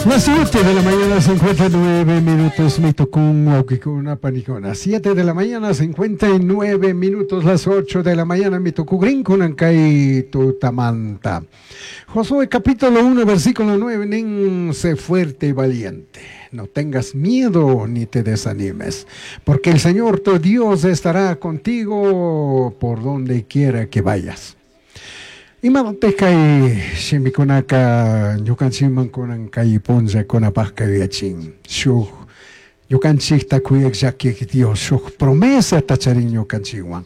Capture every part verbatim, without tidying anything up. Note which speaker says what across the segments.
Speaker 1: Las siete de la mañana, cincuenta y nueve minutos, mitucun, huauquicuna, panicuna. siete de la mañana, cincuenta y nueve minutos, las ocho de la mañana, mitucugrincunan kay tutamanta. Josué capítulo uno, versículo nueve, nin, sé fuerte y valiente. No tengas miedo ni te desanimes, porque el Señor tu Dios estará contigo por donde quiera que vayas. Imatatij kay shimikunaka ñukanchikman kunan kay punllakunapajka yuyachin? Shuk ñukanchikta kuyak llakik Dios shuk promesata charin ñukanchikwan.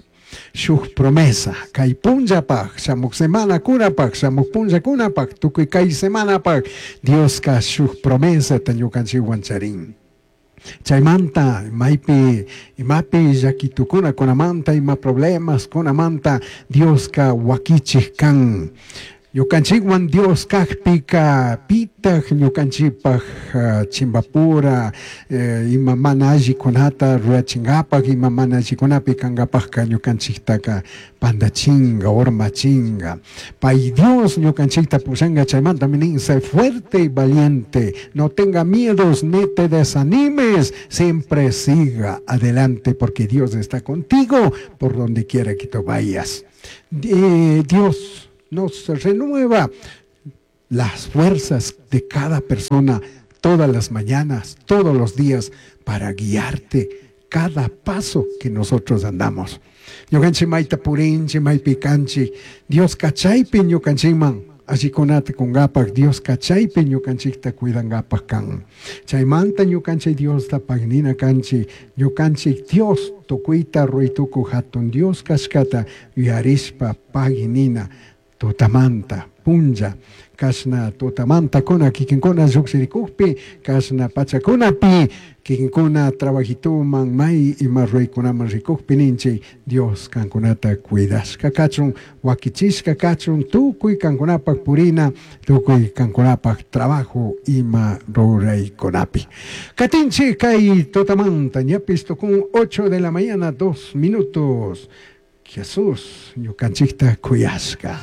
Speaker 1: Shuk promesa kay punllapaj, shamuk semanakunapaj, shamuk punllakunapaj, tukuy kay semanapaj Dioska shuk promesata ñukanchikwan charin. Chaymanta maypi imapi llakitukuna kunamanta, ima problemas kunamanta Dioska wakichik kan. Ñukanchikwan Dios kakpika pitaj ñukanchikpaj uh, chimbapura eh, ima mana allikunata rurachinkapak, ima mana allikunapi kankapajka ñukanchiktaka pandachinga, urmachinga. Pay Dios ñukanchikta pushanka. Chaymanta nin, sé fuerte y valiente, no tenga miedos ni te desanimes, siempre siga adelante porque Dios está contigo por donde quiera que tú vayas. Eh, Dios nos renueva las fuerzas de cada persona todas las mañanas, todos los días, para guiarte cada paso que nosotros andamos. Ñukanchik mayta purinchik, maypi kanchik, Dios kachaypi ñukanchikman allikunata kunkapak, Dios kachaypi ñukanchikta cuidankapak kan. Chaymanta ñukanchik Diosta pagnina kanchik, ñukanchik Dios tukuyta ruray hatun Dios kashkata yuyarishpa paginina tutamanta punlla kashna tutamanta kuna kikinkuna llukshirikukpi, kashna pachakunapi kikinkuna trabajituman may ima ruraykunaman rikukpi ninchik, Dios kankunata cuidashka kachun, wakichishka kachun tukuy kankunapak purina, tukuy kankunapak trabajo ima ruraykunapi. Katinchik kay tutamanta, ñapis tukun ocho de la mañana dos minutos. Jesús ñukanchikta kuyashka.